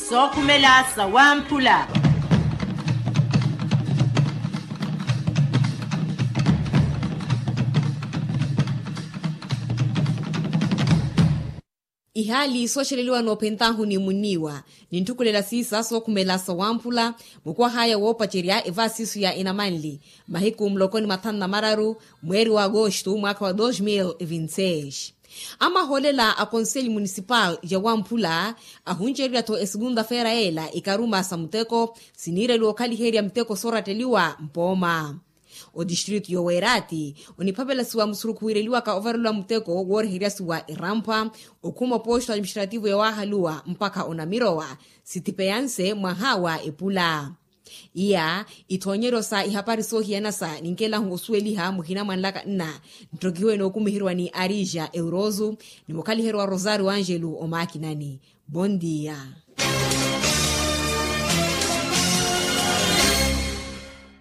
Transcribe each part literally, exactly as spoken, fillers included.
Sookhumela sawamphula. Ihaali sooxeleliwa noophentaahu ni munniiwa, nintthukhulela siisa sookhumela sawamphula. Mukwahaya woopacerya evaasisu ya inamanli mahiku muloko ni mathanu na mararu, mweeri wa agosto mwaakha wa dos mil e vinti seis. Amahoolela a konseli munisipal ya wamphula ahuncererya-tho esukunta-feera yeela ikaruma sa muteko siniireliwa okhaliherya miteko sooratteliwa mpooma. Odistritu yoweerati oniphavelasiwa musurukhu wiireliwaka ovareliwa muteko wooreheryasiwa eramphwa okhuma oposto administrativu yawaahaluwa mpakha onamirowa sitipeyanse mwaha wa epula. Iya ithoonyeryo sa ihapari soohiyana sa ninkelahu osuweliha muhina mwanlaka nna nttokihiwe nookumiheriwa ni arija euroso ni mukhaliheryo wa rosario angelo omaakinani. Bondia.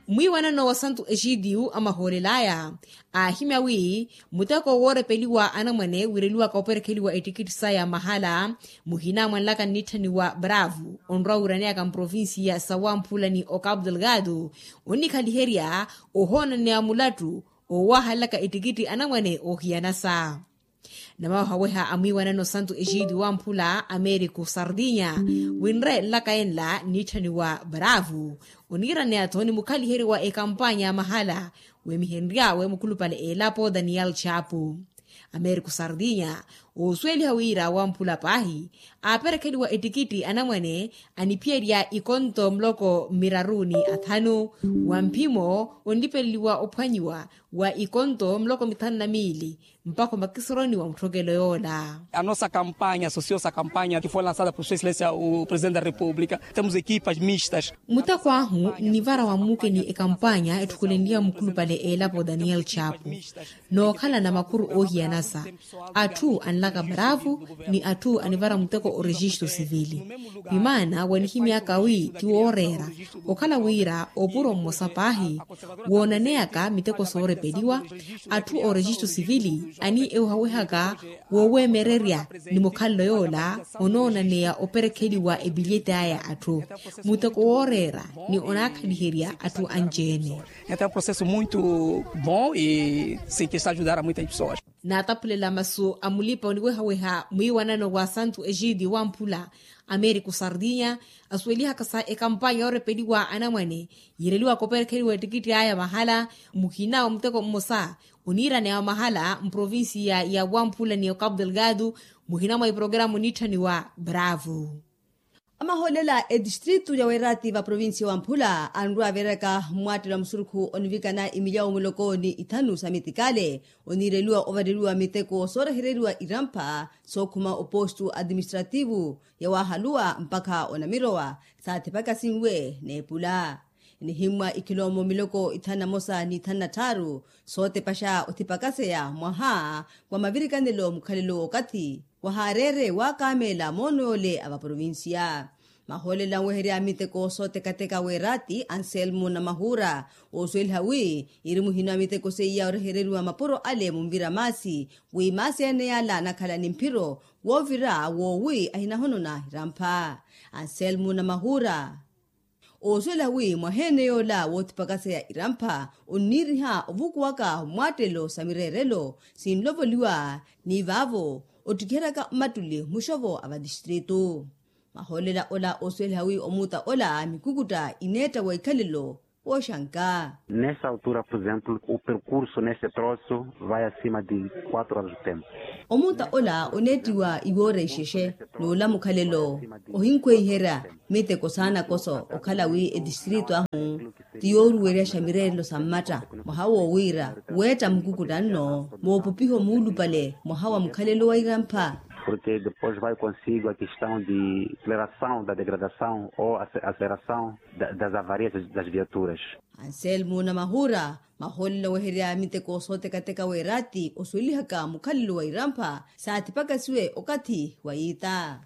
Mwiiwanano wa santu exidiu amahoolelaya aahimya wi muteko woorepeliwa anamwane wiireliwaka operekheliwa ettikitti saya mahala muhina mwanlaka nnitthaniwa bravo onrwa wiiraneyaka mprovincia sawamphula ni ocapo delgado onnikhaliherya ohoonaneya mulattu owahalaka ettikitti anamwane oohiyanasa. Namawahaweha a mwiiwanano santu exidiu wamphula americo sardinya winre nlaka enla nnitthaniwa bravo oniiraneya-tho ni mukhaliheryo wa ekampanya ya mahala weemihenryawe mukhulupale elapo daniel chapo. Americo sardinya oosuweliha wira wamphula paahi aaperekheliwa ettikitti anamwane aniphiyerya ikonto muloko mmiraruni athanu wa mphimo onlipeleliwa ophwanyiwa wa ikonto muloko mithanu na miili mpakha omakisoroni wa mutthokelo yoola. A nossa campaña social sa campaña ki foi lançada por sua excelência o presidente da república temos equipas mistas. Muteko ahu nnivara wa mmuke ni ekampaña etthukulenliha mukhulupale elapo daniel chapo nookhalana makuru oohiyanasa atthu anlaka bravo ni atthu anivara muteko orejistu sivili. Vimaana wanihimyaka wi ti wooreera okhala wira opuro mmosa paahi woonaneyaka miteko soorepeliwa atthu orejistu sivili ani ewehawehaka woweemererya ni mukhalelo yoola onoonaneya operekheliwa epilyeti aya atthu muteko wooreera ni onaakhaliherya atthu anci-ene. Entaw é um processo muito bom e sim que está a ajudar a muitas pessoas. Naataphulela masu a mulipa oniwehaweha mwiiwanano wa santu exidio wamphula americo sardinya asuwelihaka sa ekampanya yoorepeliwa anamwane yiireliwaka operekheliwa ettikitti aya mahala muhina wa muteko mmosa oniiraneya wa mahala mprovincia ya wamphula ni ocapo delgado muhina mwa iprograma oniitthaniwa bravo. Amahoolela etistritu ya weerati va provincia wamphula anrwa aveeraka mmwaattelo a musurukhu onivikana imilyawo muloko ni ithanu sa mitikale oniireliwa ovareliwa miteko soorehereriwa irampha sookhuma opostu administrativu yawaahaluwa mpakha onamirowa saathipakasinwe n'epula. Enihimmwa ikhilomo miloko ithanu na mosa ni ithanu na tthaaru sootepaxa othipakaseya mwaha wa mavirikanelo mukhalelo w'okathi wahaareere waakameela moono yoole a vaprovincia. Mahoolela anweherya miteko sootekateka weeraati anselmo na mahuura oosuweliha wi iri muhino a miteko seiya orehereriwa mapuro ale munvira maasi wi maasi ene yaala anakhala ni mphiro woovira woowi ahinahonona irampha. Anselmo na mahuura oosuwela wi mwaheene yoola woothipakaseya irampha onniiriha ovukuwaka mmwaattelo sa mireerelo sinlovoliwa ni vaavo ottikiheryaka mmattuli muxovo a vatistritu. Mahoolela ola oosuweliha wi omuuta ola mikukutta ineetta wa ikhalelo wooxanka. Nessa altura por exemplo o percurso nesse troço vai acima de quatro horas de tempo. Omuuta ola oneettiwa iwoora ixexe n'ula mukhalelo ohinkhweiherya miteko saanakoso okhala wi etistritu ahu ti yooruweryaxa mireerelo sa mmatta mwaha wo wira weetta mukukutta nno moopupiho muulupale mwaha wa mukhalelo wa irampha. Porque depois vai consigo a questão de aceleração da degradação ou aceleração das avarias das viaturas. Anselmo na mahuura mahoolela oweherya miteko sootekateka weeraati osuwelihaka mukhalelo wa irampha saathipakasiwe okathi wa yiita.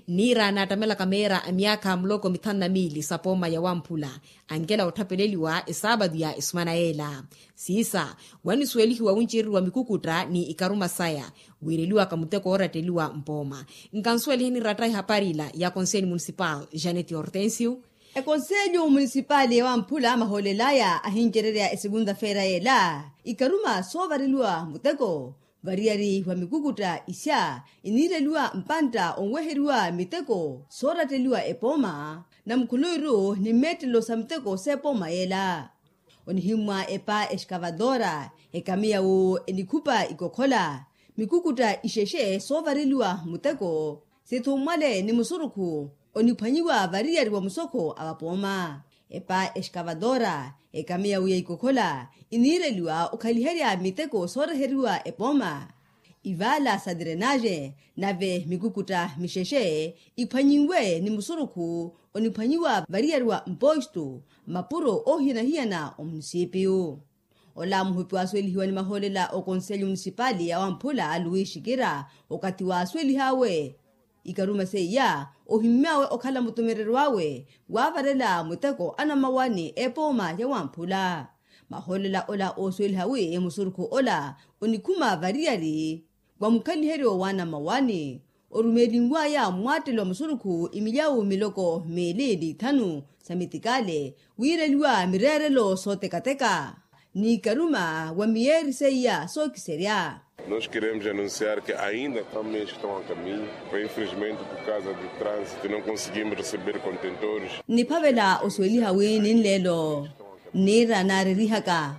Niira naattamela kameera a myaakha muloko mithanu na miili sa pooma ya wamphula, ankela otthapeleliwa esaapatu ya esumana yeela. Siisa, wanisuwelihiwa wuncereriwa mikukutta ni ikaruma saya, wiireliwaka muteko ooratteliwa mpooma. Nkansuweliheni ratta ehapari ila ya konseeli munisipal janet hortensio. Ekonseeli munisipali ya wamphula mahoolelaya ahincererya esekunta-feera yeela, ikaruma soovareliwa muteko variyari wa mikukutta isya iniireliwa mpantta onweheriwa miteko sooratteliwa epooma, na mukhuluwiru ni mmeettelo sa miteko s'epooma yeela. Onihimmwa epa exkavatora, ekamiya wu enikhupa ikokhola, mikukutta ixexe soovareliwa muteko, sithummwale ni musurukhu oniphwanyiwa variyari wa musokho a vapooma. Epa exkavatora, ekamiya wu ya ikokhola iniireliwa okhaliherya miteko sooreheriwa epooma, ivaala sa tirenaxe, nave mikukutta mixexe iphwanyinwe ni musurukhu oniphwanyiwa variyari wa mpostu, mapuro oohiyana-hiyana omunisipiyu. Ola muhupi waasuwelihiwa ni mahoolela okonselyo munisipali ya wamphula luwi xikira, okathi waasuwelih'awe ikaruma seiya, ohimmy'awe okhala mutumereryo awe waavarela muteko anamawani epooma ya wamphula. Mahoolela ola oosuweliha wi musurukhu ola onikhuma variyari wa mukhaliheryo w'anamawani, orumelinwaya mmwattelo wa musurukhu imilyawu miloko miili ni ithanu sa mitikale, wiireliwa mireerelo sootekateka n'ikaruma wa miyeeri seiya sookiserya. Nos queremos anunciar que ainda há meios que estão a caminho, mas infelizmente por causa do trânsito não conseguimos receber contentores. Niphavela osuweliha wi ninleelo nniira naarerihaka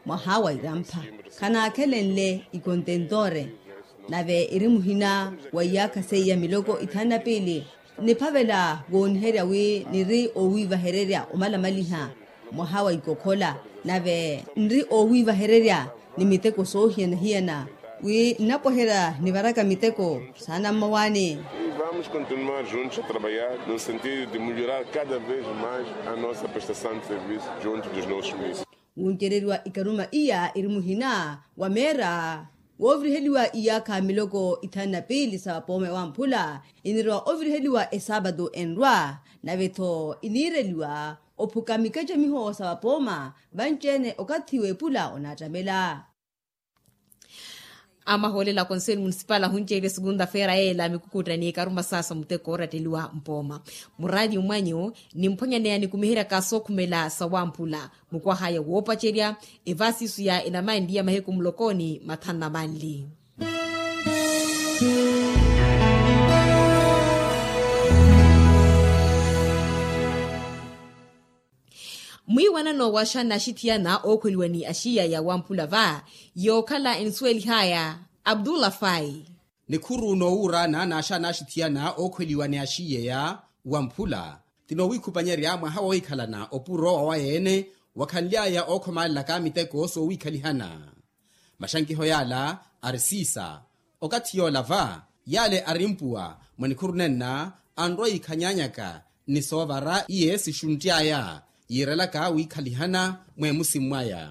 mwaha wa irampha, khanaakhelenle ikontentore, nave iri muhina wa iyaakha seiya miloko ithanu na piili. Niphavela wooniherya wi niri oowiivahererya omalamaliha mwaha wa ikokhola, nave nri oowiivahererya ni miteko soohiyana-hiyana, wi nnapweherya nivaraka miteko saana mmawaani. Vamos continuar juntos a trabalhar no sentido de melhorar cada vez mais a nossa prestação de serviço junto dos nossos municípios. Wuncereriwa ikaruma iya iri muhina wa meera wooviriheliwa iyaakha miloko ithanu na piili sa vapooma ya wamphula, inirowa oviriheliwa esaapatu enrwa, nave-tho iniireliwa ophuka mikacamiho sa vapooma vanci-ene okathi w'epula onaattamela. Amahoolela a konselyo munisipali ahunceerya esukunta feera yeela mikukutta ni ikaruma saasa muteko ooratteliwa mpooma. Muraati mwanyu nimphwanyaneya nikumiheryaka sookhumela sa wamphula, mukwahaya woopacerya evaasisu ya enamanli ya mahiku mulokoni mathanu na manli. Mwiiwanano wa xana axithiyana ookhweliwa ni axiya ya wamphula va yookhala enisuwelihaya. Abdullah fai. Nikhuru noowuurana na xana axithiyana ookhweliwa ni axiya ya wamphula ti noowiikhupanyerya mwaha woohikhalana opuro wa wayeene wakhanly'aya ookhomalelaka miteko soowiikhalihana. Maxankiho yaala ari siisa. Okathi yoola va yaale ari mpuwa mwa nikhuru nenna anrwa yiikhanyanyaka ni soovara iye sixunty'aya yiirelaka wiikhalihana mweemusi mwaya.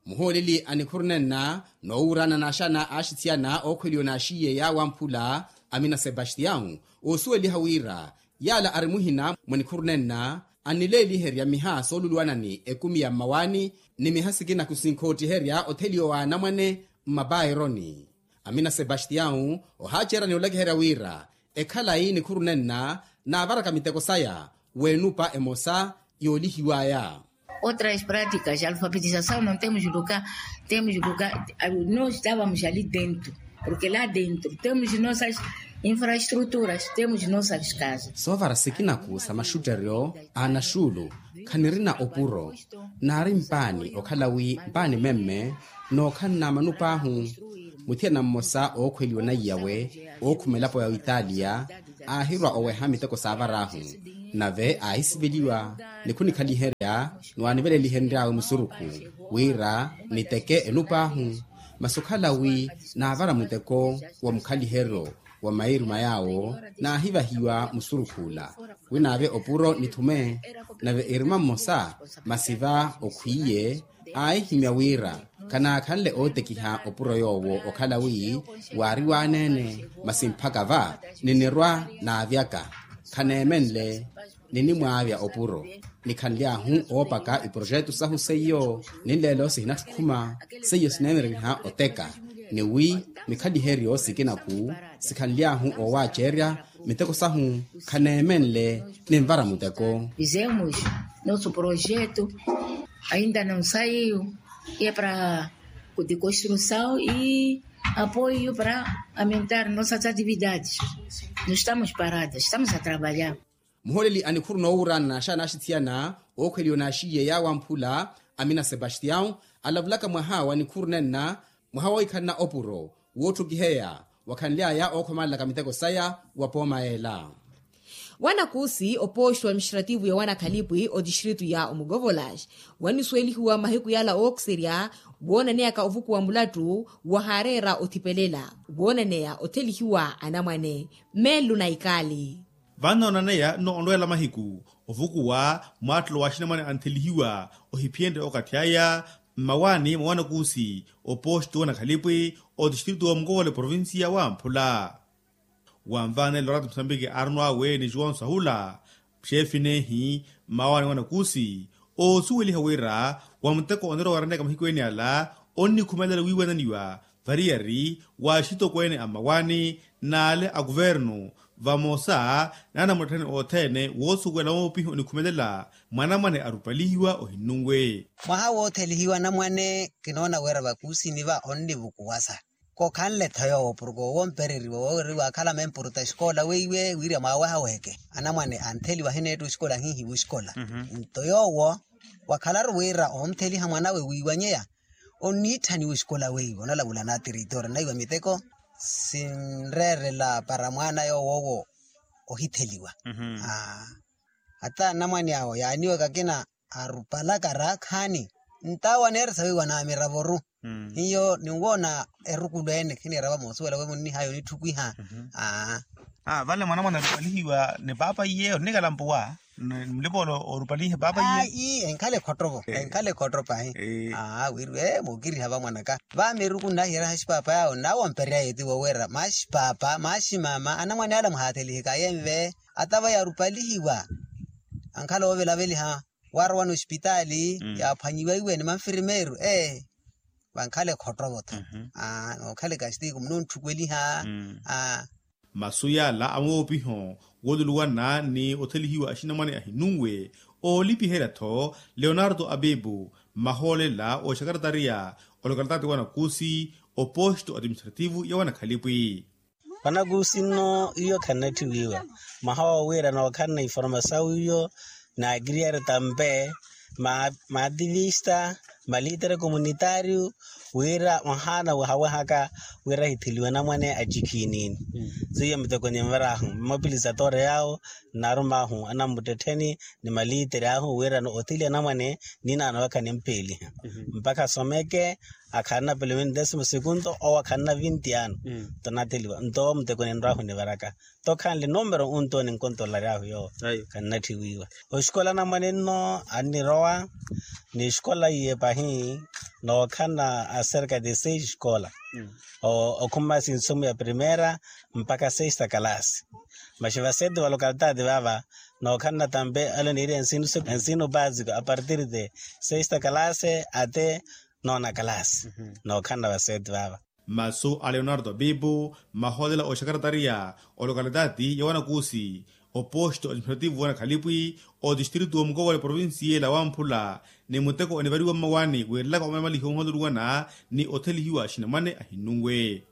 Muhooleli a nikhuru nenna noowuurana na axana axithiyana ookhweliwa na axiye ya wamphula amina sebastião oosuweliha wira yaala ari muhina mwa nikhuru nenna annileeliherya miha sooluluwanani ekumi ya mmawaani ni miha sikina kusinkhootiherya otheliwa wa anamwane mmapaironi. Amina sebastião ohaacerani olekeherya wira ekhalayi nikhuru nenna naavaraka miteko saya w'enupa emosa yoolihiwaya. Otras práticas alfabetizasaw no temos lugar, temos lugar. Nos estávamos ali dentro, porque lá dentro temos nossas infraestruturas, temos nossas casas. Soovara sikinaku sa maxutteryo a anaxuulu khanirina opuro. Naari mpaani okhala wi mpaani memme nookhanna manup'ahu. Muthiyana mmosa ookhweliwa na iyawe ookhuma elapo ya oitalia aahirwa oweha miteko saavar'ahu nave aahisiveliwa ni khunikhaliherya ni waanivelelihenry'awe musurukhu wira niteke enup'ahu. Masi okhala wi naavara muteko wa mukhaliheryo wa mairuma yaawo naahivahiwa musurukh'ula wi naave opuro nithume. Nave iruma mmosa masi va okhwiiye aahihimya wira Khanaakhanle ootekiha opuro yoowo okhala wi waari waaneene masi mphaka va ninirwa naavyaka khaneemenle ninimwaavya opuro. Nikhanly'ahu oopaka iprojetu sahu seiyo ninleelo sihinattukhuma seiyo sineemereriha oteka ni wi mikhaliheryo sikina-khu sikhanly'ahu oowaacerya miteko sahu khaneemenle ninvara muteko. Fizemos nosso projeto ainda não saiu e é para de construção e apoio para aumentar nossas atividades. Não estamos paradas, estamos a trabalhar. Muholeli a nikhuru noowuurana na xaana axithiyana ookhweliwa na axiye yaawo amphula amina sebastião alavulaka mwaha wa nikhuru nenna mwaha woohikhalana opuro wootthukiheya wakhanly'aya ookhomalelaka miteko saya wa pooma yeela. Wanakuusi opooxto administrativu ya wanakhalipwi otistritu ya omukovolas wanisuwelihiwa mahiku yala ookiserya woonaneyaka ovukuwa mulattu wahaareera othipelela woonaneya othelihiwa anamwane. Meellu na ikaali. Vano onaneya nno onrweela mahiku ovukuwa mwaattelo wa axinamwane anthelihiwa ohiphiyenrye okathi aya mmawaani mwa wanakuusi opooxto wanakhalipwi otistritu wa mukovola eprovincia wa amphula. Wanvaanela orati musambiki aarono awe ni juwonso ahula xeefi neehi mmawaani wanakuusi oosuweliha wira wa muteko oneera owaraneyaka mahiku ene ala onnikhumelela wiiwananiwa variyari wa axitokweene a mmawaani n'ale a kuvernu vamosa n'anamutthani othene woosuwela woopiha onikhumelela mwanamwane arupalihiwa ohinnunwe. Mwaha woothelihiwa anamwane kinoona wira vakuusini va onnivukuwasa. Kokhanle-tho yoowo porke owo ompereriwa wooweriwa akhala mempuruta exikola weiwe wirya mwaawehaweheke anamwane antheliwa ahineetta oxikola ahihiwa oxikola. Nto yoowo wakhalaru wira ontheliha mwanawe wiiwanyeya onniitthaniwa oxikola weiwe onalavula na tiritoori naiwa miteko sinreerela para mwaana yoowo owo ohitheliwa. Ata anamwane awo yaaniwaka akina arupalaka raakhaani ntawo aneeresa weiwa na miravoru. Hiyo ninwoona erukulu ene khiniira vamoosuwela we munnihaya onitthukiha. Aa. Vale mwanamwane arupalihiwa ni paapa iye onnikala mpuwa ni mulipa ole orupalihe paapa iye. Ii enkhala ekhottovo enkhala ekhotto pahi. Aa wiriwe muukiriha vamwanaka vameeruku nnahiyereha axipapa yaawo nnawo ampereya yeetiwo wira maxipapa maximama anamwane ala muhaatheliheka yenve. Ata vaya arupalihiwa ankhala oovelaveliha waarowa n'oxipitaali yaaphwanyiwa iwe ni manfirimeeru ee vankhala ekhottovo-tho. Nookhala ekastiko munoontthukeliha. Masu yaala amwoopiho wooluluwana ni othelihiwa axinamwane ahinunwe oolipiherya-tho leonardo abibu mmahoolela ooxakaratariya olokalitaati wanakuusi oposto administrativu ya wanakhalipwi. Vanakuusi nno iyo khannatthiwiiwa mwaha woowiira nookhalana informasawu iyo naakiriyari tampe maativista malitere komunitaariyu wira mwahaana wahawehaka wira ahitheliwe anamwane acikhiinini. Seiyo miteko ninvar'ahu mmapilisa toore yaawo nnarum'ahu anammuttettheni ni malitere ahu wirano otheliwa anamwane ninaano waka nimpeeliha mpakha asomeke akhanna pelo vinti desimo segunto owo akhanna vinti ano. Nto natheliwa nto muteko ninrw'ahu nivaraka nto khanle numero unto ninkontolaryahu yoowo. Khannatthiwiiwa oxikola anamwane nno annirowa ni exikola iye pahi nookhanna acerca de seis esikola okhuma sinsumu ya primera mpakha sexta kalasi. Maxi vaseti va lokalitaati vaava nookhanna tampe ale niiri ensino basiko apartir de sexta kalasi ate nona kalasi. Nookhanna vaseti vaava masu a leonardo abibu mmahoolela oxakaratariya olokalitaati ya wanakuusi oposto administrativu wanakhalipwi otistritu wa mukowa ni provincia ela wamphula ni muteko onivariwa mmawaani wiirelaka omalamalihi ohoololuwana ni othelihiwa axinamwane ahinnunwe.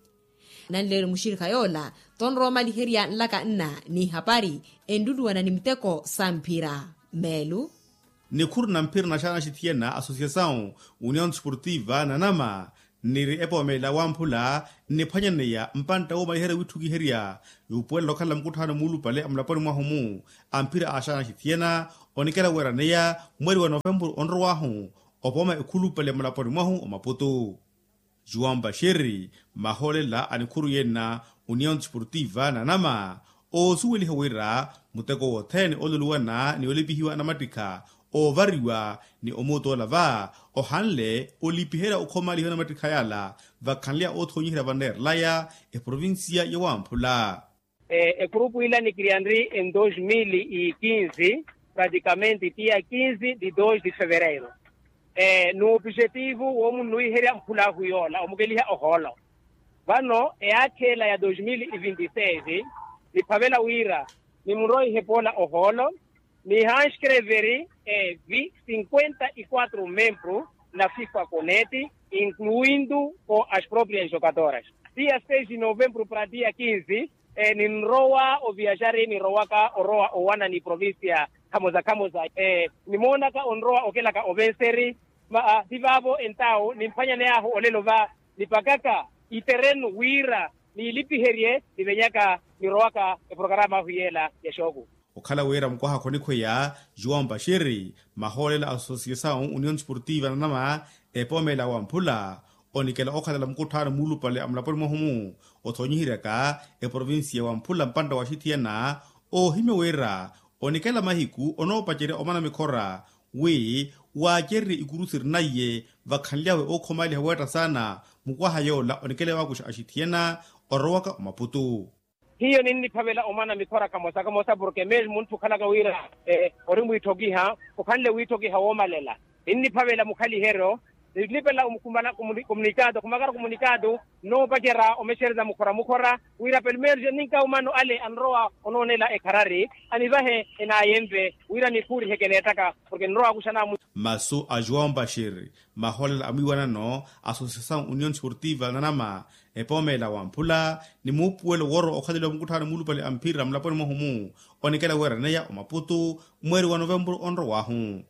Nanleeri muxirikha yoola tonrowa omaliherya nlaka nna n'ihapari enluluwana ni miteko samphira meelu. Nikhuru na mphira na xaana axithiyana asosiasawu union desportiva nanama nniri epoomelela wamphula nniphwanyaneya mpantta woomaliherya wiitthukiherya yuupuwelela okhalela mukutthaano muulupale a mulaponi mwahu-mu a mphira a xaana axithiyana onikela weeraneya mweeri wa novempuru onrow'ahu opooma ekhulupale mulaponi mwahu omaputu. Juwampa xerri mahoolela a nikhuru yenna union desportiva nanama oosuweliha wira muteko wothene ooluluwana ni olipihiwa anamattikha oovariwa ni omuutola va ohanle olipiherya okhomalihiwa na mattikha yala vakhanleya oothoonyiherya vanneerelaya eprovincia ya wamphula. Ekhurupu ila nikiriyanri en dos mil e quinze, praticamente tia quinze de dos de fevereiro. N'opijetivu woomunnuwiherya mphula ahu yoola omukeliha ohoolo. Vano eyaakha ela ya dos mil e vinte e seis niphavela wira nimuroihe poola ohoolo, nihanskreveri evi cinquenta e quatro membru na fifa conete, incluindo com as proprias jogadoras. Dia seis de novembru para dia quinze ninrowa oviajari nirowaka orowa owana ni provincia khamoza khamoza. Nimoonaka onrowa okelaka ovenseri. Ti vaavo entawo nimphwanyaney'ahu olelo va nipakaka iterenu wira niilipiherye nivenyaka nirowaka eprokarama ahu yeela ya xooku. Okhala wira mukwaha khonikhweya juwampa xiri mahoolela a associasawu union sportiva nanama epoomela wamphula onikela okhalela mukutthaano muulupale a mulaponi mwahu-mu othoonyiheryaka eprovincia ya wamphula mpantta wa axithiyana oohimya wira onikela mahiku onoopacerya omana mikhora wi waacererye ikuru sirina iye vakhanlyawe ookhomaliha weetta saana mukwaha yoola onikela waakuxa axithiyana orowaka omaputu. Hiyo ninniphavela omwana mikhora kamosa kamosa porke mesmo munthu okhalaka wira ori mwiitthokiha okhanle wiitthokiha woomalela. Ninniphavela mukhaliheryo ninnipela komunikatu khumakaru komunikatu nnoopacerya omexereza mukhora mukhora wira pelo meeru ninkawu mano ale anrowa onoonela ekharari anivahe enaayenve wira nikhuuriheke neettaka porke nrowa akuxana. Masu a juwampa xiri mahoolela a mwiiwanano associasawu union sportiva nanama epoomela wamphula ni muupuwelo woorowa okhaleliwa mukutthaano muulupale a mphira mulaponi mwahu-mu onikela weeraneya omaputu mweeri wa novempuru onrow'ahu.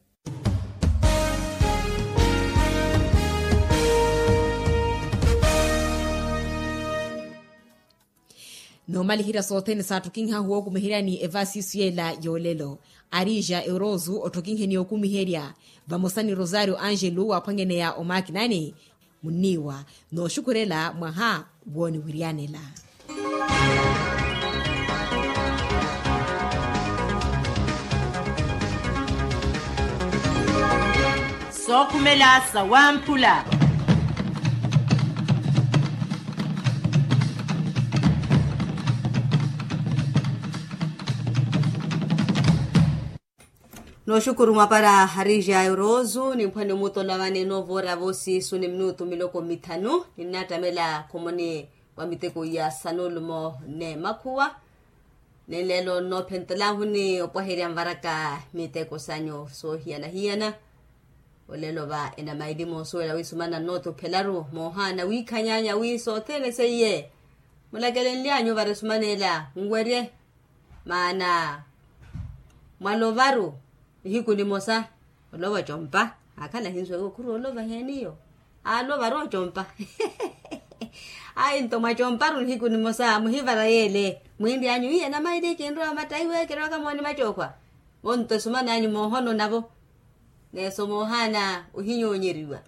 Noomaliherya sothene saatthokinhahu wookumiheryani evaasiisu yeela yoolelo arija eurozu otthokinheni okumiherya vamosa ni rosario angelu waaphwangeneya omaakinani munniiwa nooxukhurela mwaha wooniwiryanela. Sookhumela sa wamphula. Nooxukuru mwapara harija eurozu nimphwani omutola vane noovora voosiisu ni minutu miloko mithanu ninnattamela khomoni wa miteko ya sanulumo n'emakhuwa. Ni lelo nnoophentela ahuni opwaherya nvaraka miteko sanyu soohiyana-hiyana. Olelo va enamaili moosuwela wisumana nnootuphelaru moohaana wiikhanyanya wi sothene seiye mulakelenlyanyu vari esumanela nwerye. Maana mwalovaru nihiku nimosa olova ocompa. Akhala ahinsuweke okhuru olova heeniyo alovaru ocompa. Ayi nto mwacomparu nihiku nimosa muhivara yeele mwiiri anyu iye namaili kinrowa matta iwe kirowaka mooni macookhwa. Vo nto esuman'anyu moohono navo neeso moohaana ohinyoonyeriwa.